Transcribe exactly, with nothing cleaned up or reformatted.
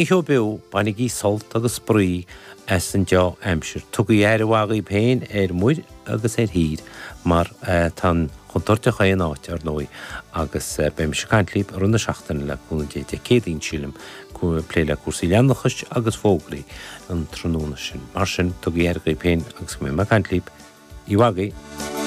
Seó beo, bainigí sult agus spraoi as an dea-aimsir. Tugaigí aire mhaith dhaoibh féin ar muir agus ar thír mar tá an chontúirt chaon áit, ar ndóigh, agus beidh mise ag caint libh i rith na seachtaine le cúnamh Dé Dé Céadaoin, sílim, plé le cúrsaí leanúnachais agus fógraí an tráthnóna sin. Mar sin, tugaigí aire dhaoibh féin agus go mbeidh mé ag caint libh. Oíche mhaith agaibh.